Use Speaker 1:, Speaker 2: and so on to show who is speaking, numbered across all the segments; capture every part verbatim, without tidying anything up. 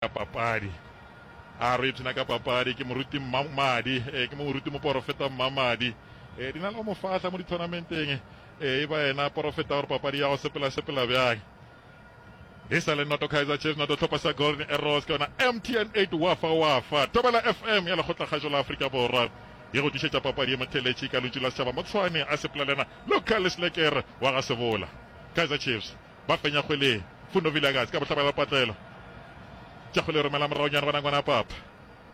Speaker 1: Ka papadi. A re ipshina ka papadi. Ke moruti Mmamadi, eh, ke moruti moporofeta Mmamadi. Eh, di na le go mo fahla mo dithonamenteng. Eh, e ba yena porofeta gore papadi ya go sepela sepela bjang. E sa le noto Kaizer Chiefs, noto tlhopha sa Golden Arrows, ke yona M T N eight Wafa Wafa. Thobela F M ya Lekgotlakgašo la Afrika Borwa e go tlišetša papadi ye motheletši ka lentšu la setšhaba Motshwane a sepela le yena Local Leslekere wa ga Sebola. Kaizer Chiefs ba fenya kgwele Fundo Vilakazi ka bohlabela patlelo. Tša kgwele romela moragonyana gona ngwana papa.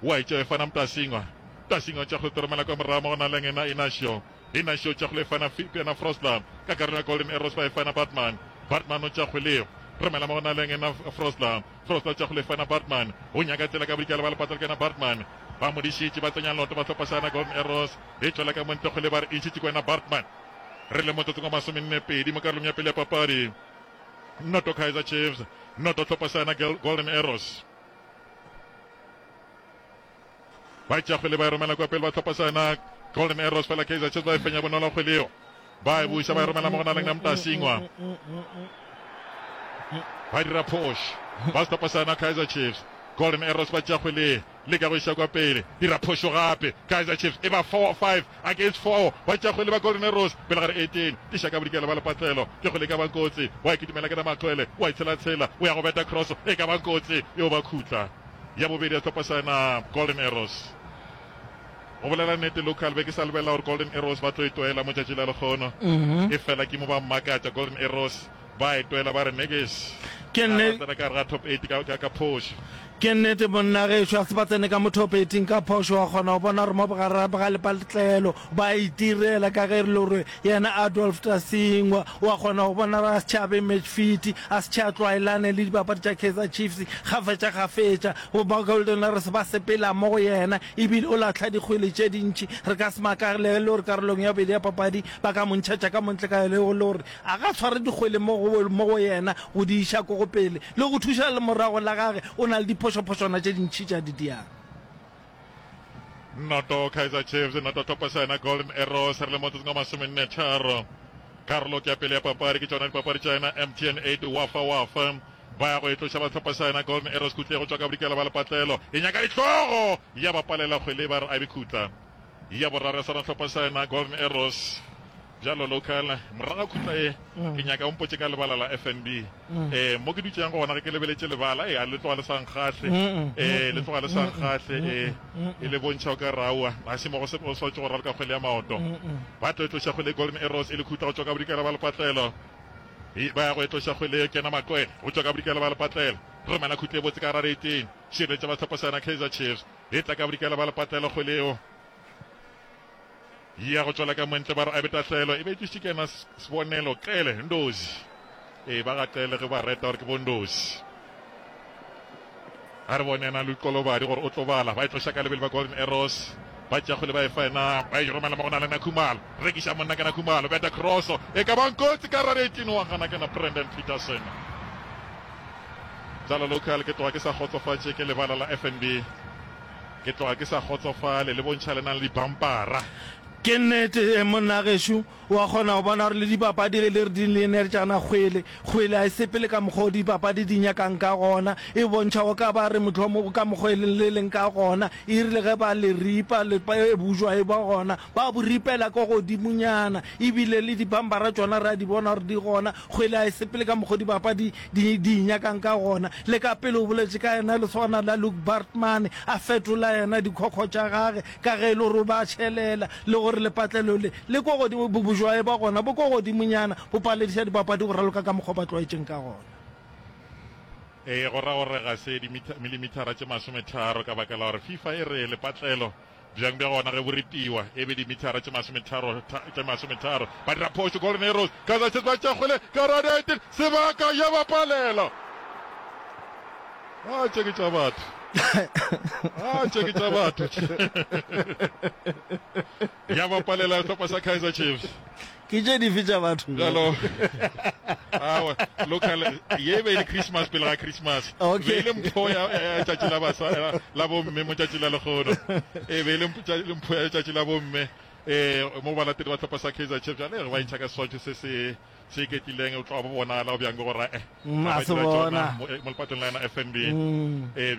Speaker 1: Wa itša e fana Mtasingwa. Mtasingwa tša kgwele romela kwa morago mo go na le yena Inacio. Inacio tša kgwele e fana yena Frosler. Ka karolo ya Golden Arrows ba e fana Batman. Batman o tša kgwele romela mo go na le yena Frosler. Frosler tša kgwele e fana Batman. O nyaka tsela ka bodikela ba lepatlelo ke yena Batman. Ba mo dišitše ba tsenya loto ba hlopha sa yena Golden Arrows. E tšwela ka montle kgwele ba re e ntšhitše ke wena Batman. Re le motsotsong wa masomenne pedi mo karolong ya pele ya papadi. Noto Kaizer Chiefs, noto hlopha sa yena Golden Arrows. Ba tšea kgwele ba e romela kwa pele ba hlopha sa yena Golden Arrows, fela Kaizer Chiefs ba e fenya bonolo kgwele eo. Ba e buša ba e romela mo go na leng na Mtasingwa. Ba dira phošo ba sehlopha sa yena Kaizer Chiefs. Golden Arrows ba tšea kgwele leka go iša kwa pele, dira phošo gape. Kaizer Chiefs e ba four five against four, ba tšea kgwele ba Golden Arrows pele gare eighteen. Tiša ka bodikela ba lepatlelo, ke kgwele e ka bang kotsi. Wa e kitimela ke na Makwele, wa e tshela-tshela, o ya go beta cross e ka bang kotsi eo ba khutla. Ya bobedi ya sehlopha sa yena Golden Arrows. Go bolela nnete local be ke sa lebelela gore Golden Arrows ba tlo e twela mo tšatši la lekgono, e fela ke mo ba mmakatša Golden Arrows ba e twela ba re nekes
Speaker 2: Ke
Speaker 1: ga ba
Speaker 2: nne-
Speaker 1: tsena ka gare ga top eight ka, ka, ka phošo.
Speaker 2: Ke nnete monna gešo, a se ba tsene ka mo top eighting ka phošo, wa kgona go bona gore mo bogare ga lepatlelo ba itirela ka ge e le gore yena Adolf Tasingwa wa kgona go bona gore a se tšhabe match fit, a se tšha tlwaelane le dibapadi tša Kaizer Chiefs kgafetša kgafetša. Go ba Golden Arrows ba sepela mo go yena ebile o lahla dikgwele tše dintši. Re ka se makale le gore karolong ya bobedi ya papadi ba ka mo ntšhetša ka montle ka le gore a ga tshware dikgwele mo go, mo go yena go di iša ko go pele le go thuša lemorago la gage. O na le diphošophošwana tše dintši tša di diang.
Speaker 1: Noto Kaizer Chiefs, noto tlhopha sa yena Golden Arrows, re le motsotsong wa masomenne tharo. Karolo ke ya pele ya papadi, ke tšona dipapadi tša yena M T N eight Wafa Wafa. Ba ya go e tloša ba tlhopha sa yena Golden Arrows khutle go tšwa ka bodikela ba lepatlelo. E nyaka dihlogo ya ba palela kgwele ba re a be khutla. Ya boraro ya swana tlhopha sa yena Golden Arrows. Bjalo local morago ga khutla ye ke nyaka o mpotše ka lebala la F N B. Eh mo ke dutšeng gona ge ke lebeletše lebala eh a le tloga le sa nkgahle. Eh le tloga le sa nkgahle eh e le bontšha o ka re aowa ga se mo go se go swanetše go raloka kgwele ya maoto. Ba tlo e tloša kgwele Golden Arrows e le khutla go tšwa ka bodikela ba lepatlelo. Ba ya go e tloša kgwele e kena Makwele go tšwa ka bodikela ba lepatlelo. Romela khutla e botse ka gare eighteen. Šireletša ba sehlopha sa yona Kaizer Chiefs. E tla ka bodikela ba lepatlelo kgwele eo. Ya go tšwela ka montle ba re a be tahlelo e be e tlišitše ke yena Sibonelo Qele Ndozi. Ee ba ga Qele ge ba reta gore ke bo Ndozi. A re bone yena Luqolobadi gore o tlo bala. Ba e tloša ka lebelo ba Golden Arrows. Ba tšea kgwele ba e fa yena, ba e romela mo go na le Nakhumalo. Rekiša monna ka Nakhumalo, beta cross e ka bang kotsi ka rare eighteen wa gana ke na Brandon Petersen. Bjalo local ke tloga ke sa kgotsofatše ke lebala la F N B. Ke tloga ke sa kgotsofale le bontšha le nang le dipampara.
Speaker 2: Ke nnete, monna gešo, wa kgona go bona gore le dipapadi ge le re di leneretšana kgwele, kgwele ga e sepele ka mokgwa o dipapadi di nyakang ka gona. E bontšha o ka ba re mohlomongwe ka mokgwa e leng le leng ka gona. E rile ge ba le ripa, le bojwa e ba gona, ba bo ripela ko godimonyana. E bile le dipampara tšona re a di bona gore di gona. Kgwele ga e sepele ka mokgwa o dibapadi di di nyakang ka gona. Le ka pele o boletše ka yena lesogana la Luke Bartman a fetola yena dikhokho tša gage ka ge e le gore o be a tšhelela le gore lepatlelo le le ko godimo, bojwae ba gona bo ko godimonyana, bo palediša dibapadi go raloka ka mokgwa ba tlwaetšeng ka gona.
Speaker 1: Ee, go ra gore ga se dimilimetara tše masometharo ka baka la gore FIFA e re lepatlelo bjang bja gona ge bo ripiwa e be dimithara tše masometharo tše masometharo. Ba dira phošo Golden Arrows, Kaizer Chiefs ba tšea kgwele ka radiated sebaka ya ba palela. A tše ke tša batho, a tše ke tša batho ya ba palela sehlopha sa Kaizer Chiefs.
Speaker 2: Ke tše dife tša batho?
Speaker 1: Bjalo awa local ye e be e le Christmas pele ga Christmas.
Speaker 2: Okay.
Speaker 1: Be e le mpho ya ya tšatši la basa la bomme mo tšatši la lekgono. E be e le mpho ya tšatši la bomme eh mo balatedi ba hlopha sa Kaizer Chiefs. Bjale re ba intšha ka seswantšho se se Se iketlileng o tloga bo bonala bjang gore eh
Speaker 2: Mm,
Speaker 1: ba
Speaker 2: a se
Speaker 1: dira tšona
Speaker 2: bona.
Speaker 1: mo eh, mo lepatong la yona F N B.
Speaker 2: Mm.
Speaker 1: Eh,